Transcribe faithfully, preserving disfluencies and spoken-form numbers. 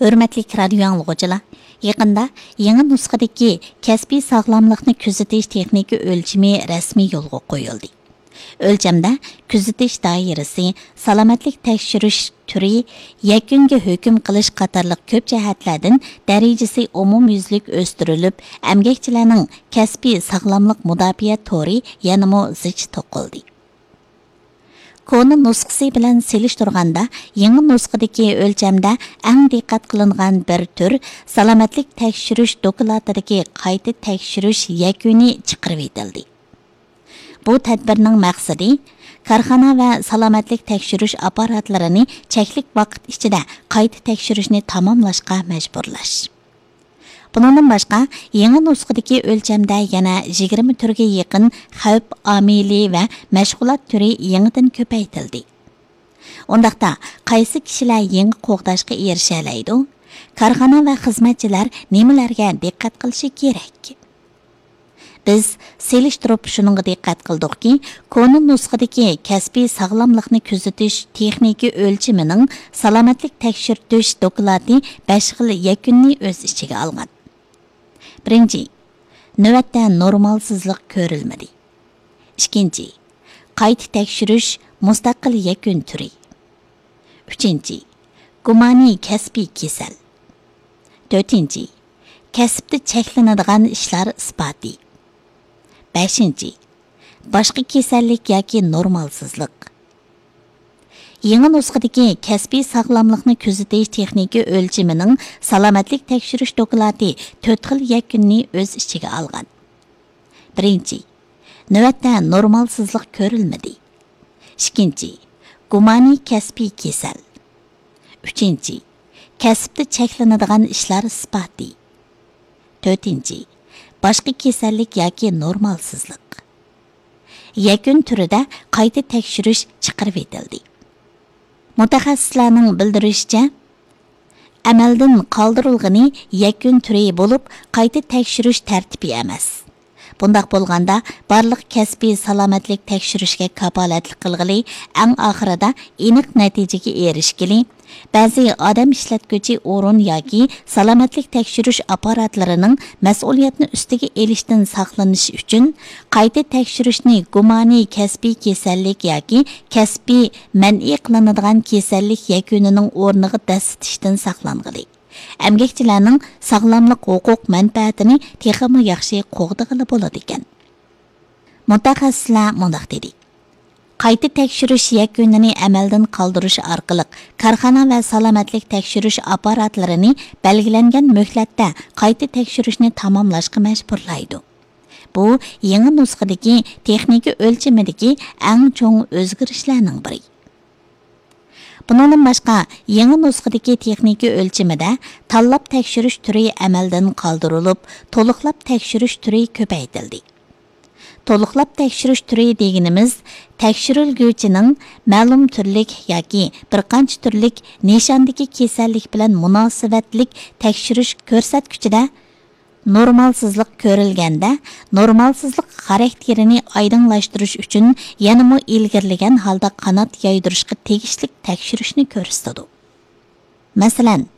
ھۆرمەتلىك رادىيو ئاڭلىغۇچىلار، يېقىندا يېڭى نۇسخىدىكى كەسپىي ساغلاملىقنى كۆزىتىش تېخنىكا ئۆلچىمى رەسمىي يولغا قويۇلدى. ئۆلچەمدە كۆزىتىش دائىرىسى، سالامەتلىك تەكشۈرۈش تۈرى، يەكۈنگە ھۆكۈم قىلىش قاتارلىق كۆپ جەھەتلەردىن دەرىجىسى ئومۇميۈزلۈك ئۆستۈرۈلۈپ، ئەمگەكچىلەرنىڭ كەسپىي ساغلاملىق مۇداپىئە تورى يەنىمۇ زىچ توقۇلدى. كونا نۇسخىسى بىلەن سېلىشتۇرغاندا، يېڭى نۇسخىدىكى ئۆلچەمدە ئەڭ دىققەت قىلىنغان بىر تۈر سالامەتلىك تەكشۈرۈش دوكلاتىدىكى قايتا تەكشۈرۈش يەكۈنى چىقىرىۋېتىلدى. بۇ تەدبىرنىڭ مەقسىتى، كارخانا ۋە سالامەتلىك تەكشۈرۈش ئاپپاراتلىرىنى چەكلىك ۋاقىت ئىچىدە قايتا تەكشۈرۈشنى تاماملاشقا مەجبۇرلاش. بۇنىڭدىن باشقا، يېڭى نۇسخىدىكى ئۆلچەمدە يەنە يىگىرمە تۈرگە يېقىن خەۋپ ئامىلى ۋە مەشغۇلات تۈرى يېڭىدىن كۆپەيتىلدى. ئۇنداقتا، قايسى كىشىلەر يېڭى قوغداشقا ئېرىشەلەيدۇ؟ كارخانا ۋە خىزمەتچىلەر نېمىلەرگە دىققەت قىلىشى كېرەك؟ بىز سېلىشتۇرۇپ شۇنىڭغا دىققەت قىلدۇقكى، كونا نۇسخىدىكى كەسپىي ساغلاملىقنى كۆزىتىش تېخنىكا ئۆلچىمىنىڭ سالامەتلىك تەكشۈرتۈش دوكلاتى بەش خىل يەكۈننى ئۆز ئىچىگە ئالغان. بىرىنچى، نۆۋەتتە نورمالسىزلىق كۆرۈلمىدى. ئىككىنچى، قايتا تەكشۈرۈش مۇستەقىل يەكۈن تۈرى. ئۈچىنچى، گۇمانىي كەسپىي كېسەل. تۆتىنچى، كەسىپتە چەكلىنىدىغان ئىشلار ئىسپاتى. بەشىنچى، باشقا كېسەللىك ياكى نورمالسىزلىق. يېڭى نۇسخىدىكى كەسپىي ساغلاملىقنى كۆزىتىش تېخنىكا ئۆلچىمىنىڭ سالامەتلىك تەكشۈرۈش دوكلاتى تۆت خىل يەكۈننى ئۆز ئىچىگە ئالغان. بىرىنچى، نۆۋەتتە نورمالسىزلىق كۆرۈلمىدى. ئىككىنچى، گۇمانىي كەسپىي كېسەل. ئۈچىنچى، كەسىپتە چەكلىنىدىغان ئىشلار ئىسپاتى. تۆتىنچى، باشقا كېسەللىك ياكى نورمالسىزلىق. يەكۈن تۈرىدە قايتا تەكشۈرۈش چىقىرىۋېتىلدى. مۇتەخەسسىسلەرنىڭ بىلدۈرۈشىچە، ئەمەلدىن قالدۇرۇلغىنى يەكۈن تۈرى بولۇپ، قايتا تەكشۈرۈش تەرتىپى ئەمەس. بۇنداق بولغاندا، بارلىق كەسپىي سالامەتلىك تەكشۈرۈشكە كاپالەتلىك قىلغىلى، ئەڭ ئاخىرىدا ئېنىق نەتىجىگە ئېرىشكىلى، بەزى ئادەم ئىشلەتكۈچى ئورۇن ياكى سالامەتلىك تەكشۈرۈش ئاپپاراتلىرىنىڭ مەسئۇلىيەتنى ئۈستىگە ئېلىشتىن ساقلىنىش ئۈچۈن، قايتا تەكشۈرۈشنى گۇمانىي كەسپىي كېسەللىك ياكى كەسپىي مەنئى قىلىنىدىغان كېسەللىك يەكۈنىنىڭ ئورنىغا دەسسىتىشتىن ساقلانغىلى، ئەمگەكچىلەرنىڭ ساغلاملىق ھوقۇق مەنپەئەتىنى تېخىمۇ ياخشى قوغدىغىلى بولىدىكەن. مۇتەخەسسىسلەر مۇنداق دېدى: قايتا تەكشۈرۈش يەكۈنىنى ئەمەلدىن قالدۇرۇش ئارقىلىق، كارخانا ۋە سالامەتلىك تەكشۈرۈش ئاپپاراتلىرىنى بەلگىلەنگەن مۆھلەتتە قايتا تەكشۈرۈشنى تاماملاشقا مەجبۇرلايدۇ. بۇ يېڭى نۇسخىدىكى تېخنىكا ئۆلچىمىدىكى ئەڭ چوڭ ئۆزگىرىشلەرنىڭ بىرى. بۇنىڭدىن باشقا، يېڭى نۇسخىدىكى تېخنىكا ئۆلچىمىدە تاللاپ تەكشۈرۈش تۈرى ئەمەلدىن قالدۇرۇلۇپ، تولۇقلاپ تەكشۈرۈش تۈرى كۆپەيتىلدى. تولۇقلاپ تەكشۈرۈش تۈرى دېگىنىمىز، تەكشۈرۈلگۈچىنىڭ مەلۇم تۈرلۈك ياكى بىر قانچە تۈرلۈك نىشاندىكى كېسەللىك بىلەن مۇناسىۋەتلىك تەكشۈرۈش كۆرسەتكۈچىدە نورمالسىزلىق كۆرۈلگەندە، نورمالسىزلىق خاراكتېرىنى ئايدىڭلاشتۇرۇش ئۈچۈن يەنىمۇ ئىلگىرىلىگەن ھالدا قانات يايدۇرۇشقا تېگىشلىك تەكشۈرۈشنى كۆرسىتىدۇ. مەسىلەن،